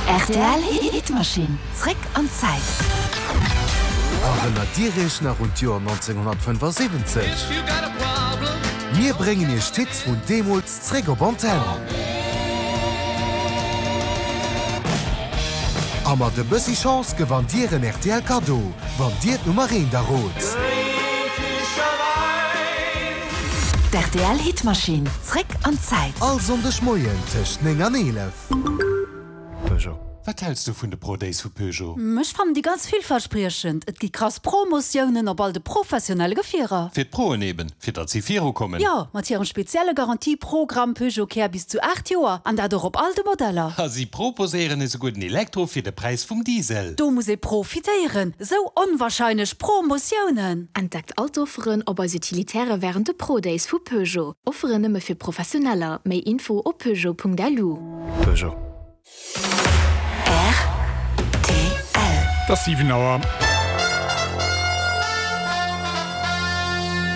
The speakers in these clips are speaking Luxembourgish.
Rtl Hitmaschinn, zréck an d'Zäit. Erënnert Dir Iech nach un d'Joer 1975? Mir bréngen Iech d'Hits vun deemools zréck op Antenn. A mat e bëssi Chance gewannt Dir en rtl Kaddo, wann Dir d'Nummer eent errot. D'RTL Hitmaschinn, zréck an d'Zäit. All Sonndeg Moien tëscht 9 an 11. Peugeot. Wat häls du vun de Pro Days vu Peugeot? Ech fannen déi ganz villverspriechend. Et gi krass Promotiounen op all de professionelle Gefierer. Fir d'Proen eben, fir datt si viru kommen. Jo, mat hirem spezielle Garantie-Programm Peugeot Care bis zu 8 Joer, an dat och op all de Modeller. A si proposéieren esouguer den Elektro fir de Präis vum Diesel. Do muss ee profitéieren, esou onwahrscheinlech Promotiounen! Entdeckt all d'Offeren op eis Utilitaire wärend de Pro Days vu Peugeot. Offeren nëmme fir Professioneller. Méi Info op peugeot.lu. Peugeot. Rtl. Et ass 7 Auer.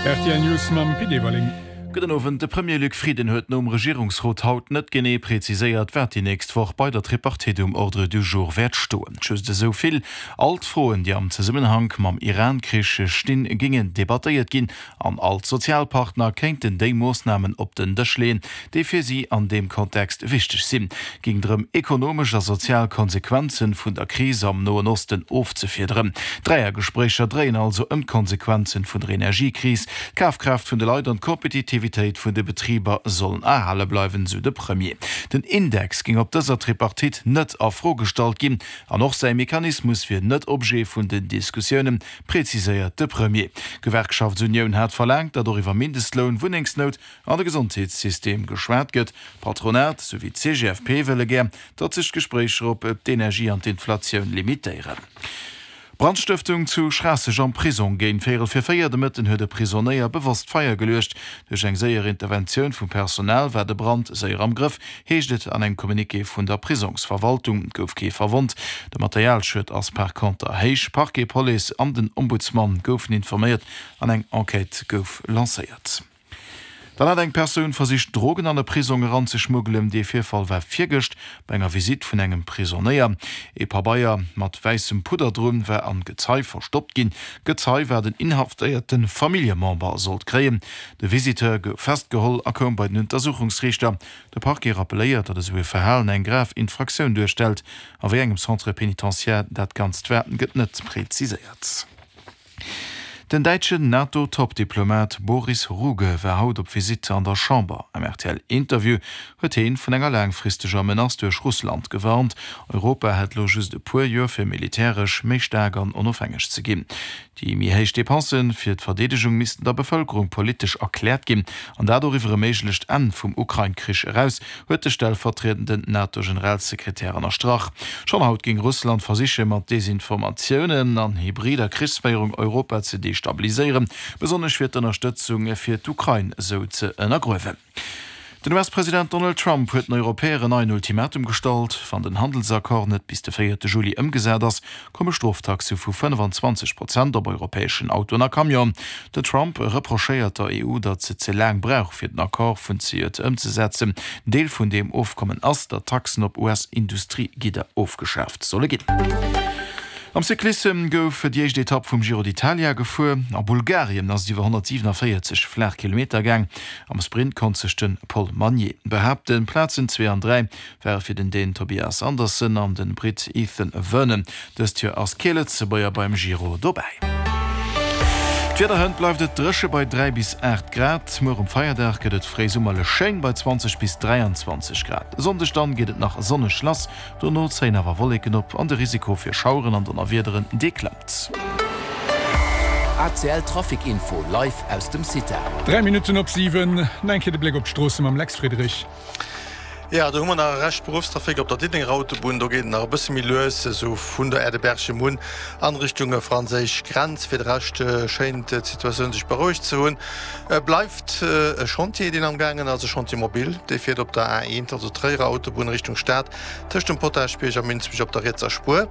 Rtl News mam Pit Everling. Gudden Owend. De Premier Luc Frieden huet nom Regierungsrot haut net genee preziséiert, wat déi nächst Woch bei der Tripartite um Ordre du jour wäert stoen. Just esou vill, All d'Froen, déi am Zesummenhank mam Iran-Krich stinn, géingen debattéiert ginn An all d'Sozialpartner kéinten déi Moossnamen op den Dësch leeën, déi fir si an deem Kontext wichteg sinn. Géing drëm, ekonomesch a sozial Konsequenzen vun der Kris am Noen Osten ofzefiederen. D'Dräiergespréicher dréien also ëm d'Konsequenzen vun der Energiekris. D'Kafkraaft vun de Leit an d'Kompetitivitéit vun de Betriber sollen erhale bleiwen, sou de Premier. Den Index géing op dëser Tripartite net a Fro gestallt ginn an och säi Mechanismus wier net Objet vun den Diskussiounen, Preziséiert de Premier. D'Gewerkschaftsunioun hat verlaangt, datt och iwwer Mindestloun, Wunnengsnout an de Gesondheetssystem geschwat gëtt. D'Patronat souwéi d'CGFP wëlle gär, datt sech d'Gespréicher op d'Energie an d'Inflatioun limitéieren. Brandstëftung zu Schraasseg am Prisong, Géint véierel fir 4 de Mëtten huet e Prisonéier bewosst Feier geluecht. Duerch eng séier Interventioun vum Personal war de Brand séier am Grëff. Heescht et an engem Communiqué vun der Prisongsverwaltung. Et gouf kee verwonnt. De Materialschued ass par conter héich. Parquet, Police an den Ombudsman goufen informéiert an eng Enquête gouf lancéiert. Dann hat eng Persoun versicht, Drogen an e Prisong eranzeschmuggelen. Dee Virfall war virgëscht bei enger Visitt vun engem Prisonéier. Ee Pabeier mat wäissem Pudder drun war an Gezei verstoppt ginn. D'Gezei war den inhaftéierte Familljemember sollt kréien. De Visiteur gouf festgeholl a koum bei den Untersuchungsriichter. De Parquet rappelléiert, datt esou e Verhalen eng grav Infraktioun duerstellt. A wéi engem Centre pénitentiaire dat Ganzt war, gëtt net preziséiert. Den däitschen NATO-Top-Diplomat Boris Ruge war haut op Visitt an der Chamber. Am RTL-Interview huet heen vun enger laangfristeger Menace duerch Russland gewarnt. Europa hätt elo just e puer Joer fir militäresch méi staark an onofhängeg ze ginn. Déi méi héich Depense fir d'Verdeedegung missten der Bevëlkerung politesch erkläert ginn, an dat och iwwer e méiglecht Enn vum Ukrain-Krich eraus, huet de stellvertriedenden NATO-Generalsekretär ënnerstrach. Schonn haut géing Russland versiche mat Desinformatiounen an hybrider Krichsféierung Europa ze destabiliséieren, besonnesch fir d'Ënnerstëtzung fir d'Ukrain esou ze ënnergruewen. Den US-President Donald Trump huet den Europäer en neien Ultimatum gestallt, Wann den Handelsaccord net bis de véierte Juli ëmgesat ass, komme Stroftaxe vu 25 Prozent op europäeschen Autoen a Camionen. Den Trump reprochéiert der EU, datt se ze laang brauch, fir den Accord vun zejoert ëmzesetzen. Deel vun deem Ofkommen ass, datt Taxen op US-Industriegidder ofgeschaaft solle ginn. Am Cyclissem gouf déi éischt Etapp vum Giro d'Italia gefuer. A Bulgarien ass et iwwer 147 flaach Kilometer gaang. Am Sprint konnt sech de Paul Magnier behaapten. Plazen 2 an 3 ware fir den Dän Tobias Andersen an de Britt Ethan Vernon. Dëst Joer ass kee Lëtzebuerger beim Giro dobäi. D'Wieder, Hënt bleift et dréche bei 3 bis 8 Grad. Muer um Feierdag gëtt et fréisummerlech schéin bei 20 bis 23 Grad. E Sonndeg dann geet et nach sonneg lass. Dono zéien awer Wolleken op an de Risiko fir Schaueren an Donnerwiederen, dee klëmmt. ACL Trafic Info live aus dem CITA. 3 Minutten op 7, nach eng Kéier de Bléck op d'Stroosse mam Lex Friedrich. Jo, do hu mer nach e Rescht Beruffstrafic op der Diddelenger Autobunn. Do geet et nach e bësse méi lues, esou vun der Aire de Berchem un an Richtung franséisch Grenz. Fir de Rescht schéint d'Situatioun sech berouegt ze hunn. Bleift e Chantier, deen am gaangen ass, e Chantier mobile, dee fiert op der A1, also Tréierer Autobunn Richtung Stad, tëscht dem Potaschbierg a Münzbech op der rietser Spuer.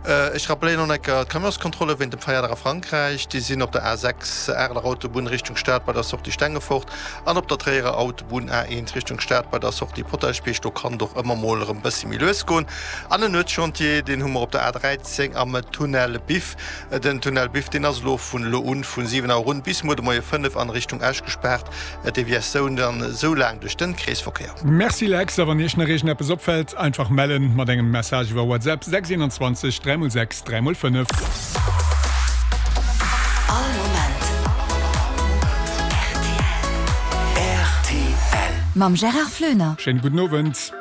Ech rappelléieren och enker d'Camionskontrolle wéint dem Feierdag a Frankräich. Déi sinn op der A6, Areler Autobunn Richtung Stad bei der Sortie Stengefort an op der Tréierer Autobunn A1 Richtung Stad bei der Sortie Potaschbierg. Kierchbierg, do kann et och ëmmer mol erëm bëssi méi lues goen. An en Nuetschantier, deen hu mer op der A13 am Tunnel Biff. Den Tunnel Biff, deen ass elo vun elo un vun 7 Auer un bis muer de Moie 5 an Richtung Esch gespaart. Deviatioun dann esou laang duerch den Kreesverkéier. Merci Lex, a wann iech nach iergendeppes opfällt, einfach mellen mat engem Message iwwer WhatsApp 6 21 3 x 6 3 x 5. All Moment rtl. Mam Gérard Floener. Schéine gudden Owend.